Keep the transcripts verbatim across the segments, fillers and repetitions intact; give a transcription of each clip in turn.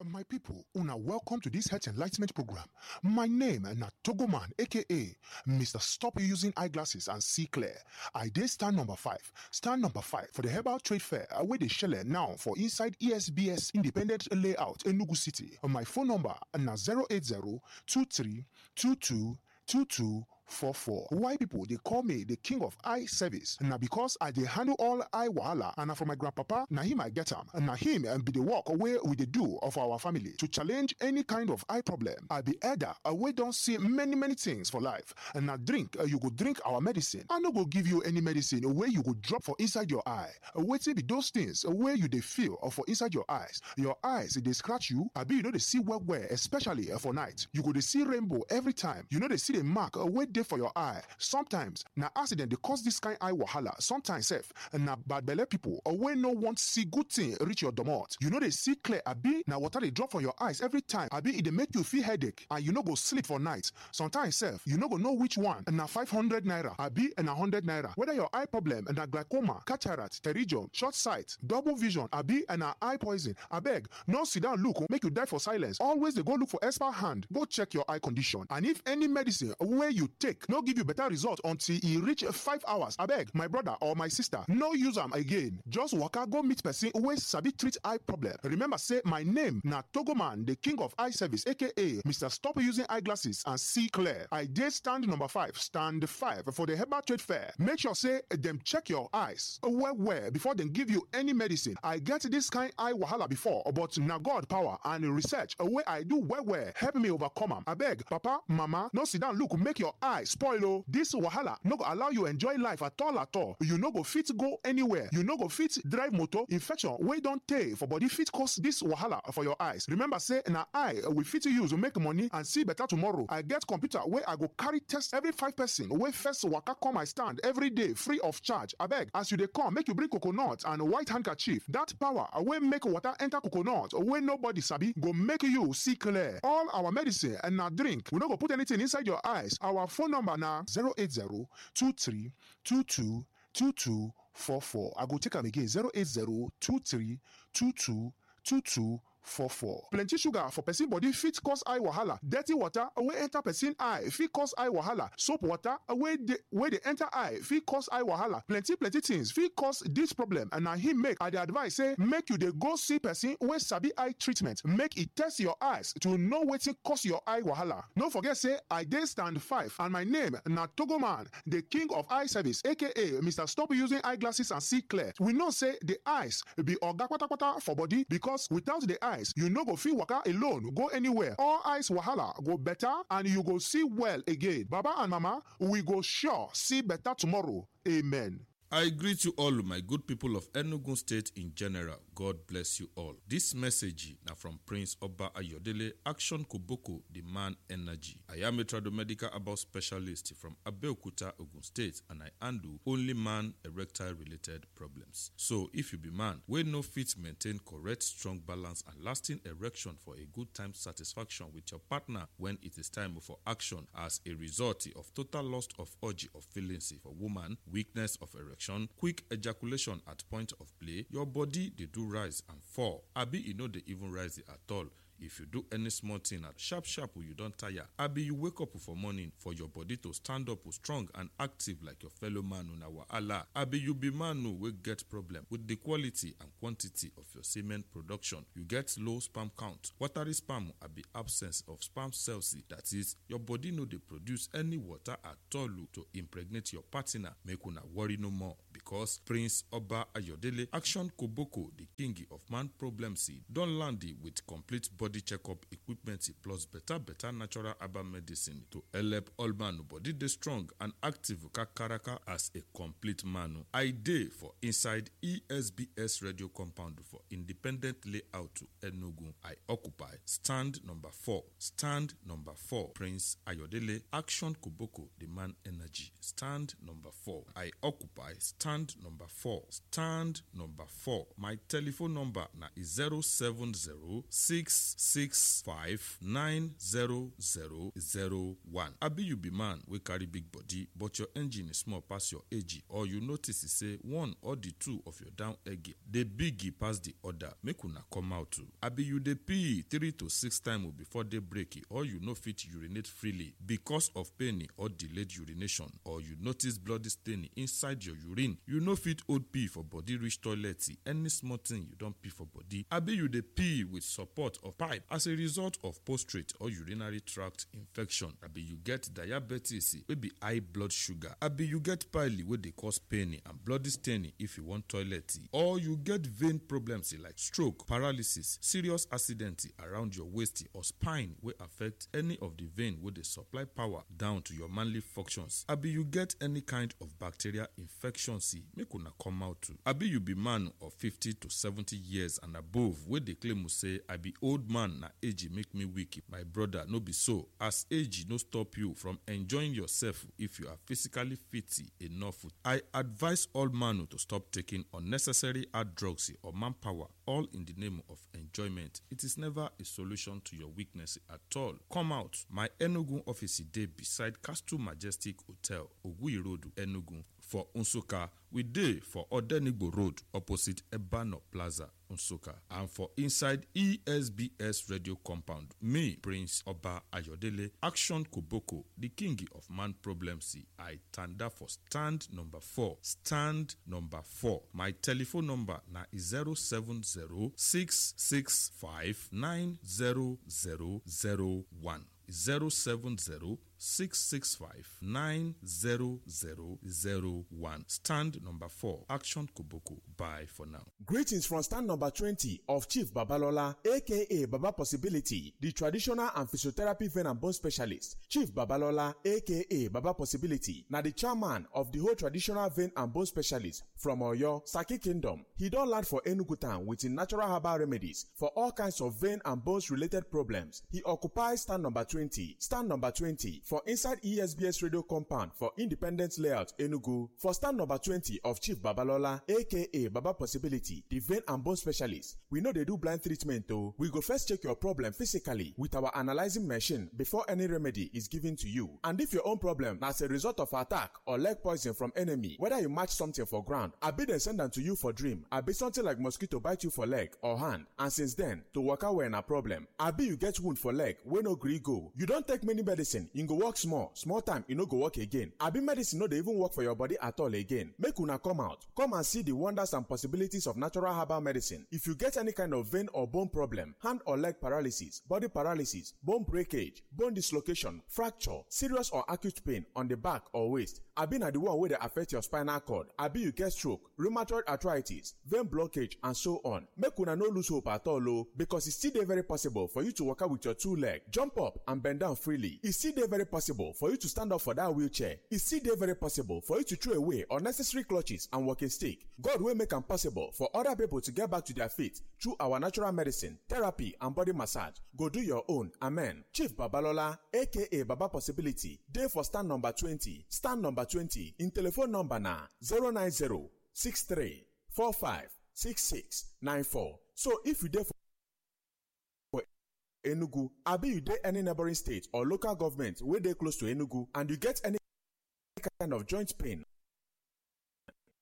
My people, una welcome to this health enlightenment program. My name na Togoman, A K A Mister Stop Using Eyeglasses and See Clear. I dey stand number five. Stand number five for the Herbal Trade Fair, uh, wey dey shele now for inside E S B S Independent Layout, Enugu City. My phone number na zero eight zero two three two two two two four four. Why people dey call me the king of eye service? Na because I dey handle all eye wahala, and na from my grandpapa, na him I get am. Na him, um, be the work wey we dey do of our family to challenge any kind of eye problem. I be elder, uh, wey don see many, many things for life. And na drink, uh, you go drink our medicine. I no go give you any medicine wey you go drop for inside your eye. Uh, wetin be those things, uh, wey you dey feel, uh, for inside your eyes? Your eyes dey scratch you, abi you no dey see well well, especially, uh, for night. You go dey see rainbow every time. You no dey see the mark, uh, wey dey for your eye. Sometimes na accident dey cause this kind eye wahala. Sometimes sef, na bad belle people, uh, wey no want see good thing reach your domot. You no dey see clear, abi na water dey drop from your eyes every time, abi e dey make you feel headache and you no go sleep for night. Sometimes sef, you no go know which one na five hundred naira, abi na hundred naira. Whether your eye problem na glaucoma, cataract, pterygium, short sight, double vision, abi na eye poison, abeg, no sit down look, make you die for silence. Always dey go look for expert hand, go check your eye condition. And if any medicine wey you take no give you better result until e reach five hours, abeg, my brother or my sister, no use am again. Just waka go meet person wey sabi treat eye problem. Remember say my name na Togoman, the king of eye service, A K A Mister Stop Using Eyeglasses and See Clear. I dey stand number five, stand five for the Herbal Trade Fair. Make sure say dem check your eyes well well before dem give you any medicine. I get this kind eye wahala before, but na God power and research wey I do well well help me overcome am. Abeg, papa, mama, no sit down look, make your eye spoil o. This wahala no go allow you enjoy life at all at all. You no go fit go anywhere. You no go fit drive motor. Infection wey don tey for body fit cause this wahala for your eyes. Remember say na eye we fit use make money and see better tomorrow. I get computer wey I go carry test every five person wey first waka come my stand every day free of charge. Abeg, as you dey come, make you bring coconut and white handkerchief. That power wey make water enter coconut wey nobody sabi go make you see clear. All our medicine and na drink. We no go put anything inside your eyes. Our phone number na zero eight zero two three two two two two four four. I go take am again, zero eight zero two three two two two two four four. Plenty sugar for person body fit cause eye wahala. Dirty water wey enter person eye fit cause eye wahala. Soap water wey dey, wey dey enter eye fit cause eye wahala. Plenty, plenty things fit cause this problem, and na him make I dey advise say make you dey go see person wey sabi eye treatment, make e test your eyes to know wetin cause your eye wahala. No forget say I dey stand five, and my name na Togoman, the king of eye service, A K A Mister Stop Using Eyeglasses and See Clear. We know say the eyes be oga patapata for body, because without the eyes, you no go fit waka alone go anywhere. All eyes wahala go better and you go see well again. Baba and mama, we go sure see better tomorrow. Amen. I greet you all, my good people of Enugu State in general. God bless you all. This message na from Prince Oba Ayodele, Action Koboko, the man energy. I am a tradomedical herbal specialist from Abeokuta, Ogun State, and I handle only man erectile related problems. So if you be man wey no fit maintain correct, strong balance and lasting erection for a good time satisfaction with your partner when it is time for action as a result of total loss of urge of feelings for woman, weakness of erection, quick ejaculation at point of play, your body dey do rise and fall, abi e no dey even rise at all. If you do any small thing at sharp sharp, you don tire. Abi you wake up for morning for your body to stand up strong and active like your fellow man, una wahala. Abi you be man wey get problem with the quality and quantity of your semen production. You get low sperm count, watery sperm, abi absence of sperm cells. That is, your body no dey produce any water at all to impregnate your partner. Make una worry no more, because Prince Oba Ayodele, Action Koboko, the king of man problems, don land with complete body checkup equipment plus better better natural herbal medicine to help all man body dey strong and active kakaraka as a complete man. I dey for inside E S B S radio compound for Independent Layout, Enugu. I occupy stand number four. Stand number four. Prince Ayodele, Action Koboko, the man energy. Stand number four. I occupy stand number four. Stand number four. My telephone number na zero seven zero six six five nine zero zero zero one. Abi you be man wey carry big body, but your engine is small pass your age, or you notice say one or the two of your down egg dey big pass the other, make una come out o. Abi you dey pee three to six times before day break, or you no fit urinate freely because of pain or delayed urination, or you notice bloody stain inside your urine, you no fit hold pee for body reach toilet, any small thing you don pee for body. Abi you dey pee with support of pipe as a result of prostate or urinary tract infection. Abi you get diabetes wey be high blood sugar. Abi you get pile wey dey cause pain and bloody stain if you wan toilet. Or you get vein problems like stroke, paralysis, serious accident around your waist or spine wey affect any of the vein wey dey supply power down to your manly functions. Abi you get any kind of bacterial infection, make una come out o. Abi you be man of fifty to seventy years and above wey dey claim say, "I be old man, na age make me weak." My brother, no be so. As age no stop you from enjoying yourself if you are physically fit enough. I advise all man to stop taking unnecessary hard drugs or manpower, all in the name of enjoyment. It is never a solution to your weakness at all. Come out. My Enugu office dey beside Castle Majestic Hotel, Oguyi Road, Enugu. For Nsukka, we dey for Odenigbo Road, opposite Ebano Plaza, Nsukka. And for inside E S B S radio compound, me, Prince Oba Ayodele, Action Koboko, the king of man problems, I tanda for stand number four. Stand number four. My telephone number na zero seven zero six six five nine zero zero zero one. Zero seven zero six six five nine zero zero zero one. Stand number four. Action Koboko. Bye for now. Greetings from stand number twenty of Chief Babalola, A K A Baba Possibility, the traditional and physiotherapy vein and bone specialist. Chief Babalola, A K A Baba Possibility, na the chairman of the whole traditional vein and bone specialist from Oyo, Saki Kingdom. He don land for Enugu town with him natural herbal remedies for all kinds of vein and bones related problems. He occupies stand number twenty, stand number twenty for inside E S B S radio compound for Independence Layout, Enugu. For stand number twenty of Chief Babalola, A K A Baba Possibility, the vein and bone specialist, we no dey do blind treatment o. We go first check your problem physically with our analyzing machine before any remedy is given to you. And if your own problem na as a result of attack or leg poison from enemy, whether you match something for ground, abi dem send am to you for dream, abi something like mosquito bite you for leg or hand, and since then, to waka well na problem, abi you get wound for leg wey no gree go, you don take many medicine, e go work small, small time, e no go work again, abi medicine no dey even work for your body at all again, make una come out, come and see the wonders and possibilities of natural herbal medicine. If you get any kind of vein or bone problem, hand or leg paralysis, body paralysis, bone breakage, bone dislocation, fracture, serious or acute pain on the back or waist, abi na the one wey dey affect your spinal cord, abi you get stroke, rheumatoid arthritis, vein blockage, and so on. Make una no lose hope at all o, because e still dey very possible for you to waka with your two leg, jump up and bend down freely. E still dey very possible for you to stand up for that wheelchair. E still dey very possible for you to throw away unnecessary clutches and walking stick. God wey make am possible for other people to get back to their feet through our natural medicine, therapy, and body massage go do your own. Amen. Chief Babalola, A K A Baba Possibility, dey for stand number twenty. Stand number twenty. Im telephone number na zero nine zero six three four five six six nine four. So if you dey for Enugu, abi you dey any neighboring state or local government wey dey close to Enugu, and you get any kind of joint pain,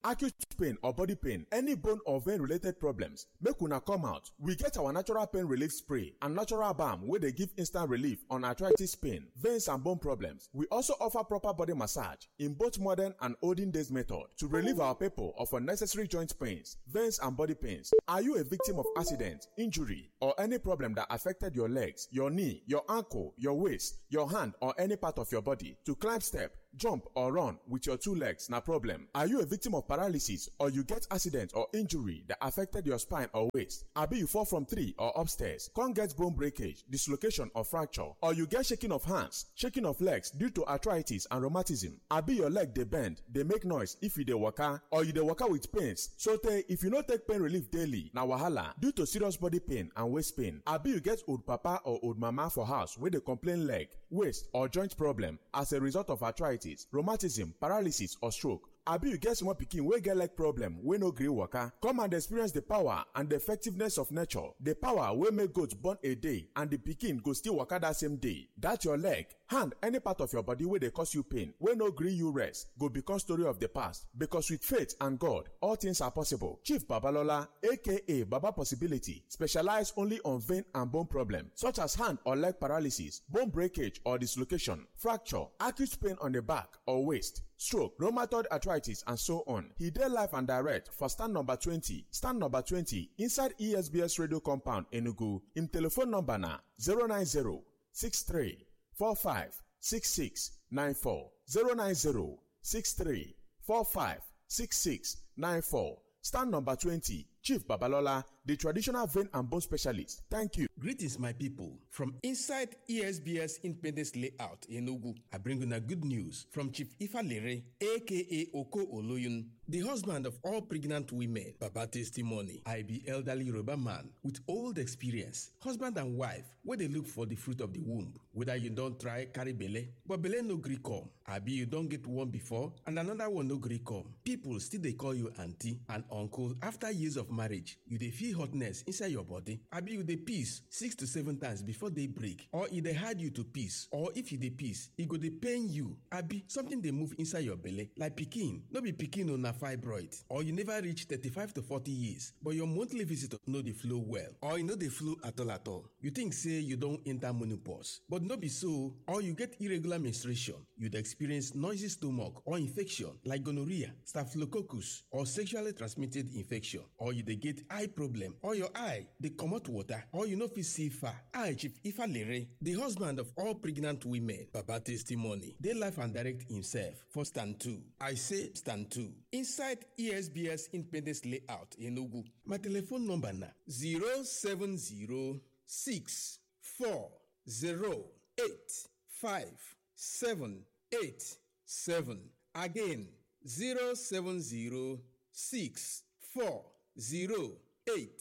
acute pain or body pain, any bone or vein related problems, make una come out. We get our natural pain relief spray and natural balm wey dey give instant relief on arthritis pain, veins and bone problems. We also offer proper body massage in both modern and olden days method to relieve our people of unnecessary joint pains, veins and body pains. Are you a victim of accident, injury, or any problem that affected your legs, your knee, your ankle, your waist, your hand, or any part of your body? To climb step, jump or run with your two legs na problem? Are you a victim of paralysis or you get accident or injury that affected your spine or waist? Abi you fall from tree or upstairs, come get bone breakage, dislocation or fracture, or you get shaking of hands, shaking of legs due to arthritis and rheumatism? Abi your leg dey bend, dey make noise if you dey waka, or you dey waka with pains? So tey if you no take pain relief daily, na wahala due to serious body pain and waist pain. Abi you get old papa or old mama for house wey dey complain leg, waist or joint problem as a result of arthritis, rheumatism, paralysis or stroke? Abi you get small pikin wey get leg problem, wey no gree waka? Come and experience the power and the effectiveness of nature. The power wey make goat born a day and the pikin go still waka that same day. That your leg, hand, any part of your body wey dey cause you pain, wey no gree you rest, go become story of the past. Because with faith and God, all things are possible. Chief Babalola, A K A Baba Possibility, specialize only on vein and bone problem, such as hand or leg paralysis, bone breakage or dislocation, fracture, acute pain on the back or waist, stroke, rheumatoid arthritis, and so on. He dey live and direct for stand number twenty, stand number twenty, inside E S B S radio compound, Enugu. Im telephone number na zero nine zero six three four five six six nine four, zero nine zero six three four five six six nine four. Stand number twenty, Chief Babalola, the traditional vein and bone specialist. Thank you. Greetings, my people. From inside E S B S Independence Layout, Enugu, I bring una good news from Chief Ifalere, A K A Oko Oloyun, the husband of all pregnant women. Baba testimony. I be elderly Yoruba man with old experience, husband and wife, where they look for the fruit of the womb. Whether you don't try carry belle, but belle no gree come. Abi you don't get one before and another one no gree come. People still dey call you auntie and uncle after years of marriage. You dey feel hotness inside your body. Abi you dey piss six to seven times before day break. Or e dey hard you to piss. Or if you dey piss, e go dey pain you. Abi something dey move inside your belle like pikin. No be pikin o, na fibroid. Or you never reach thirty-five to forty years, but your monthly visit no dey flow well. Or e no dey flow at all at all. You think say you don enter menopause, but no be so. Or you get irregular menstruation, you dey experience noisy stomach or infection like gonorrhea, staphylococcus, or sexually transmitted infection, or you dey get eye problem, or your eye dey comot water, or you no fit see far. I, Chief Ifalere, the husband of all pregnant women, Baba Testimony, dey live and direct himself for stand two. I say stand two. Inside E S B S Independence Layout, Enugu. My telephone number na zero seven zero six four zero eight five seven eight seven. Again, zero seven zero six four zero eight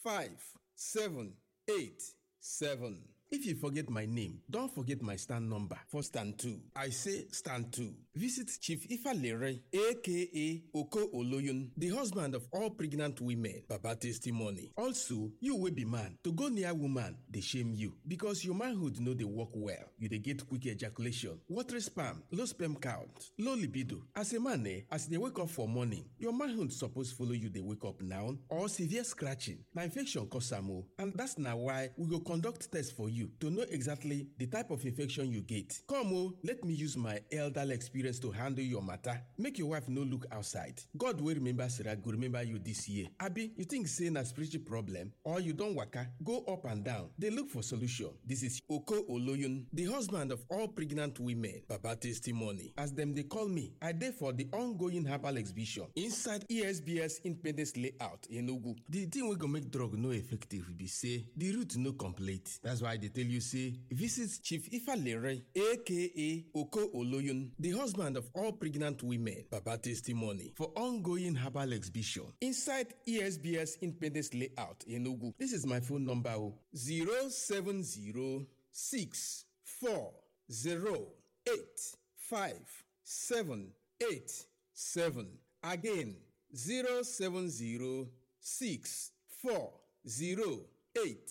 five seven eight seven. If you forget my name, don't forget my stand number for stand two. I say stand two. Visit Chief Ifalere, A K A Oko Oloyun, the husband of all pregnant women. Baba testimony. Also, you wey be man, to go near woman dey shame you because your manhood no dey work well. You dey get quick ejaculation, watery sperm, low sperm count, low libido. As a man, eh, as you dey wake up for morning, your manhood suppose follow you dey wake up now, or severe scratching. Na infection cause am o, and that's na why we go conduct test for you to know exactly the type of infection you get. Come o, let me use my elderly experience to handle your matter. Make your wife no look outside. God wey remember Sarah go remember you this year. Abi you think say na spiritual problem, or you don waka go up and down dey look for solution? This is Oko Oloyun, the husband of all pregnant women. Baba testimony. As dem dey call me, I dey for the ongoing herbal exhibition inside E S B S Independence Layout, Enugu. The thing wey go make drug no effective be say the root no complete. That's why I dey tell you say visit Chief Ifalere, A K A Oko Oloyun, the husband of all pregnant women. Baba testimony for ongoing herbal exhibition inside E S B S Independence Layout, Enugu. This is my phone number o, zero seven zero six four zero eight five seven eight seven. Again, zero seven zero six four zero eight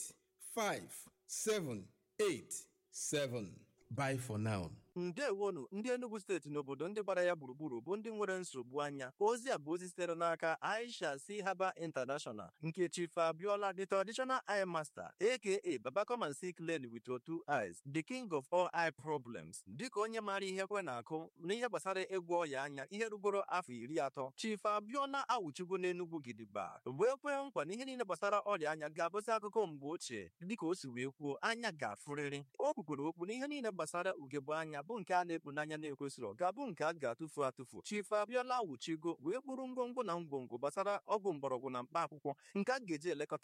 five seven eight seven. Bye for now. Ndewonu, ndị Enugu steeti n'obodo ndị gbara ya gburugburu bụ ndị nwere nsogbu anya. Ozi a bụ ozi sitere n'aka Aisha C Herbal International, nke Chief Abiola, the traditional eye master, A K A Baba Come and See Clearly with Your Two Eyes, the king of all eye problems. Dịka onye maara ihe kwe na-akụ n'ihe gbasara ịgwọ ọya anya ihe rugoro afọ iri atọ, Chief Abiola awụchigo n'Enugu gidigba, wee kwee nkwa na ihe niile gbasara ọrịa anya ga-abụzi akụkọ mgbe ochie. Dịka o si wee kwuo, anya ga-afụrịrị. O kwukwere okwu na ihe niile gbasara ugegbe anya bụ nke a na-ekpu n'anya na-ekwesịrọ ga-abụ nke a ga-atụfu atụfu. Chief Abiola awụchigo wee kpụrụ ngwongwo na ngwongwo gbasara ọgwụ mgbọrọgwụ na mkpa akwụkwọ nke a ga-eji elekọta